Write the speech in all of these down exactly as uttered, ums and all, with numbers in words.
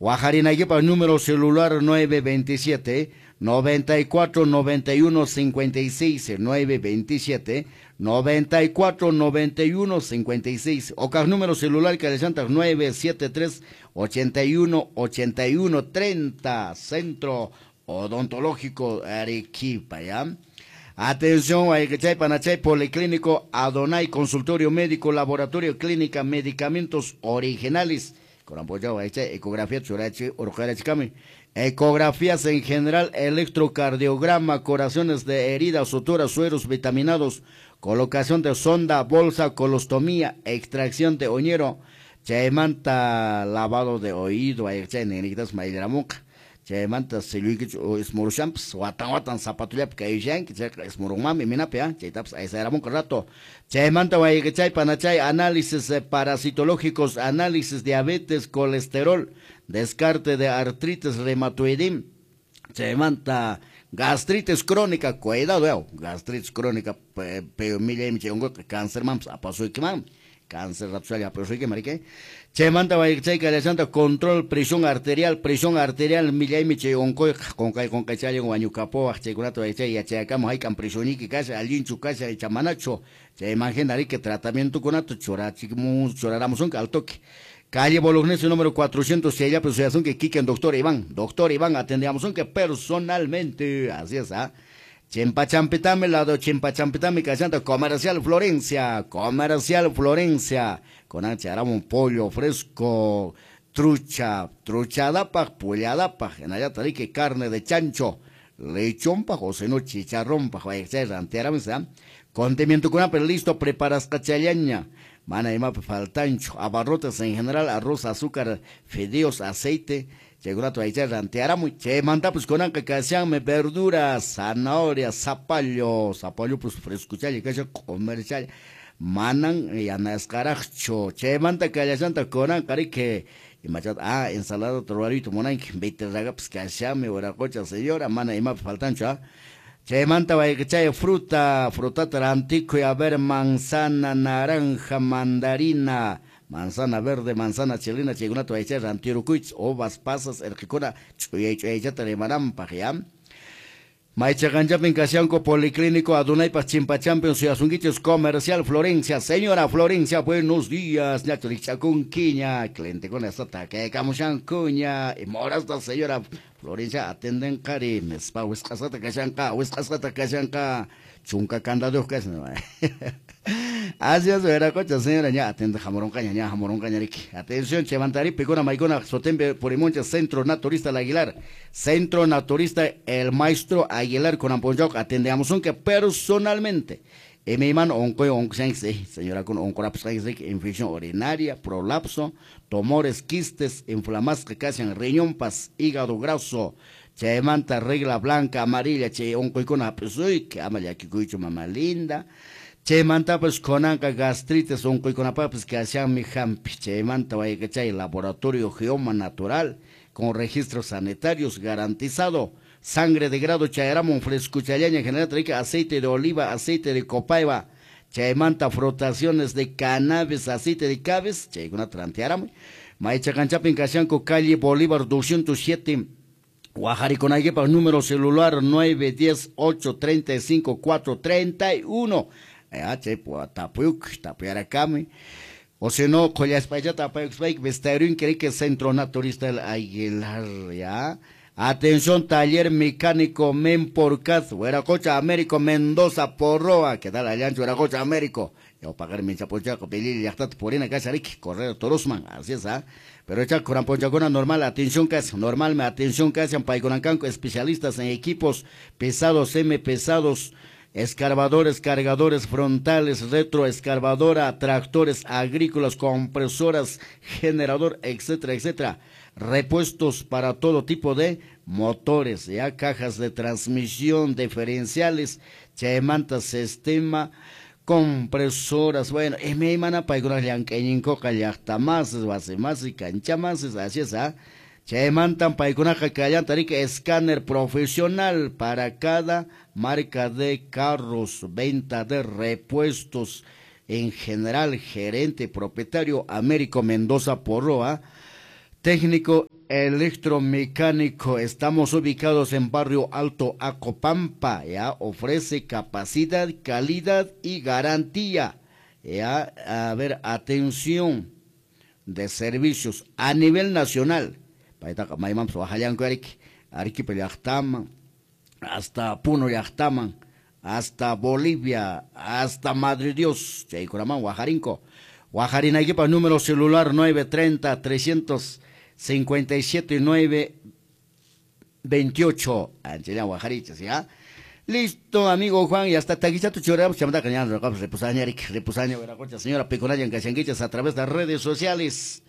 Wajarinaykipa número celular nueve veintisiete noventa y cuatro noventa y uno cincuenta y seis, nueve veintisiete noventa y cuatro noventa y uno cincuenta y seis. O cas número celular que le nueve siete tres ochenta y uno ochenta y uno treinta. Centro Odontológico Arequipa, ¿ya? Atención, Ayquechay, Panachay, Policlínico Adonai, consultorio médico, laboratorio, clínica, medicamentos originales. Con apoyo, ecografía, churachi, urjarachikami. Ecografías en general, electrocardiograma, curaciones de heridas, suturas, sueros vitaminados, colocación de sonda, bolsa, colostomía, extracción de oñero, chaymanta, lavado de oído, aychay, nenitas, mayleramuca. Chaymanta silluykichu ismurushanpas watan watan zapatullapi kayushanki chayqa ismurunmanmi minapi, ¿eh? Chaytapas aysayramunqa rato. Chaymanta wayqichay panachay análisis parasitológicos, análisis diabetes, colesterol, descarte de artritis reumatoidim. Chaymanta gastritis crónica, cuidado, eh, gastritis crónica, pero millaymi chay unquyqa cáncermanpas apasuykimanmi. Cáncer rapsalla apasuyki marique. Chaymanta wayqichay kallashanta control presión arterial, presión arterial millaymi chay unquyqa qunqay qunqaychallan wañukapuwaq chaykunata wayqichay yachayakamu hayk'an presionniyki kasha allinchu kasha icha manachu. Chayman hina riki tratamientokunata churachimun churaramusunki al toque. Calle Bolognesi número cuatrocientos chayllapi suyasunki kikin doctor Iván. Doctor Iván atendiamusunki personalmente. Así es, ¿ah? Chimpachampitami, lado Chimpachampitami, callanta Comercial Florencia, Comercial Florencia, con ancha hará un pollo fresco, trucha, truchadapaj, pulladapaj, en allá tarique carne de chancho, lechón pa, o seno chicharrón pa, condimento con pero listo, preparas cachallaña, mana y mapa faltancho, abarrotes en general, arroz, azúcar, fideos, aceite. Chaykunata waychay rantearamuy. Chaymantapas kunanqa kashanmi verduras, zanahoria, zapallo, zapallo pues frescuchalla kashan comercial, manan yanasqaraqchu. Chaymanta kallashanta kunanqa riki imachata, ah, ensalada ruwaruyta munanki, beterragapas kashanmi wiraqucha señora, mana imapas faltanchu, ah. Chaymanta wayqichay fruta, frutata rantikuy, a ver, manzana, naranja, mandarina, manzana verde, manzana chilena, chaykunata waychay rantirukuychis, uvas, pasas, erqikuna, ch'uyay ch'uyaychata rimananpaq, ya. Maychaqanchapin kashanku Policlínico Adonaypaq Chimpachampion suyasunkichis Comercial Florencia. Señora Florencia, buenos días. Ñachu rikchakunkiña, clientekuna hasta takaykamushankuña. Imorasta señora Florencia atenden qari, nispa wisq'asqata kashanqa, wisq'asqata kashanqa, chunka candaduyuq kashan. Así es, wiraqucha señora, ña atende hamuronqaña, ña hamuronqaña riki. Atención, chaymantari pikuna maykuna sutinpi purimunchis Centro Naturista El Aguilar. Centro Naturista El Maestro Aguilar con Amponchauc atendeamusunki personalmente. Imayman unquy unqushanki, señora kun unqurapusqanki infección urinaria, prolapso, tumores, quistes, inflamasqa kashan riñonpas, hígado graso, chaymanta regla blanca, amarilla, chay unquykuna hap'isuyki, ama llakikuychu mama linda. Chaymantapas kunanqa gastritis unquykunapaqpas kashanmi hampi. Chaymanta wayqichay laboratorio Geoma Natural con registros sanitarios garantizado. Sangre de grado chayaramun frescuchallaña en general trae aceite de oliva, aceite de copaiba, chaymanta frotaciones de cannabis, aceite de cabes, chaykunata rantearamuy. Maychaqanchapin kashanku calle Bolívar doscientos siete, Wajarikunaykipaq número celular nueve diez ocho treinta y cinco cuatro treinta y uno. Chay tapuyuk, tapuyarakami. O si no, qhullaspaychata apayukuspayki vestayrunki riki Centro Naturista El Aguilar, ya. Atención, taller mecánico Memporcaz, Huiracocha Américo Mendoza Porroa. ¿Qué tal, Allancho Huiracocha Américo? Yo pagar mi chapochaco, pelili, llaqtata purina kasha riki, Correo Torosman, así es, ¿ah? Pero chaco, kuranponchakuna normal, atención casi, normal, me atención casi, paykunankanku, especialistas en equipos pesados, semi pesados, escarbadores, cargadores frontales, retroescarbadora, tractores agrícolas, compresoras, generador, etcétera, etcétera. Repuestos para todo tipo de motores, ya cajas de transmisión, diferenciales, chaymanta sistema, compresoras, bueno, imaymana paykuna llank'ayninkuqa llaqtamasis, wasimasis, kanchamasis, así es, ¿ah? Chaymantan paykunaqa kallanta riki escáner profesional para cada marca de carros, venta de repuestos en general, gerente propietario Américo Mendoza Porroa. Técnico electromecánico. Estamos ubicados en Barrio Alto Acopampa, ya ofrece capacidad, calidad y garantía. Ya, a ver, atención de servicios a nivel nacional. Paytaqa maymanpas wahallanku ariki, Arequipa llaqtaman, hasta Puno llaqtaman, hasta Bolivia, hasta Madre Dios, chaykunaman waharinko. Waharinaykipaq número celular nueve treinta, trescientos cincuenta y siete, nueve veintiocho. Anchilla waharichis, ¿ya? Listo, amigo Juan, y hasta taquichato choramos, chamantaqa ñan roqapis reposaña, reposaña, veracocha, señora Piconayan Cachanguichas a través de las redes sociales.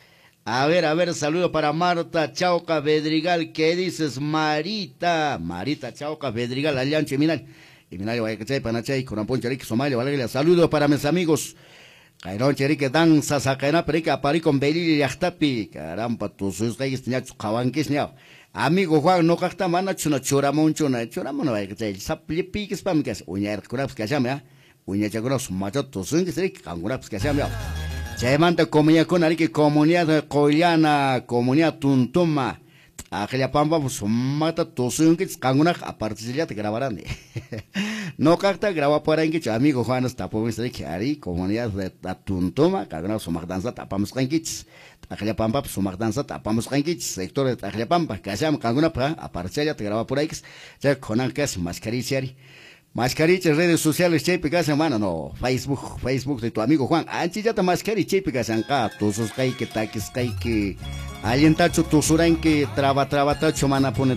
A ver, a ver, saludo para Marta Chauca Bedrigal, ¿qué dices, Marita? Marita Chauca Bedrigal, Allancho y Minal. Y Minal, Guayacachay, Panachay, Coramponcha, Rique, Somalia, Valeria. Saludo para mis amigos. Cairón, Cherique, danza, Sacaena, Perica, Aparicon, Belili, Yachtapi. Caramba, tus hijos, ñacho, Jabanquis, ñao. Amigo Juan, no cacta, mana, chuna, churamón, chuna, churamón, Guayacachay, Saplipiques, pamicas, uñar, curapes, cachame, ¿ah? Uñachacuras, macho, tus hijos, Rique, cangurapes, cachame, Chaymanta comunidad ariki comunidad Qollana, comunidad Tuntuma, Aqllapampa sumaqta tusunkichis qankunaqa apartillata grabarani. Noqaqta grabaparankichu amigo Juan tapumis riki ari comunidad de Tuntuma, qankunaqa sumaq danzata apamusqankichis. Aqllapampapas sumaq danzata apamusqankichis, sector de Aqllapampa kasham qankunapaq apartillata grabapuraykis. Chay kunan kas mascarilla ari. Mascaricha redes sociales chaypi kashan, mano, no, Facebook, Facebook de tu amigo Juan. Anchillata mascari chaypi kashanqa, tususqayki, takisqayki, allintachu tusuranki, traba trabatachu mana pone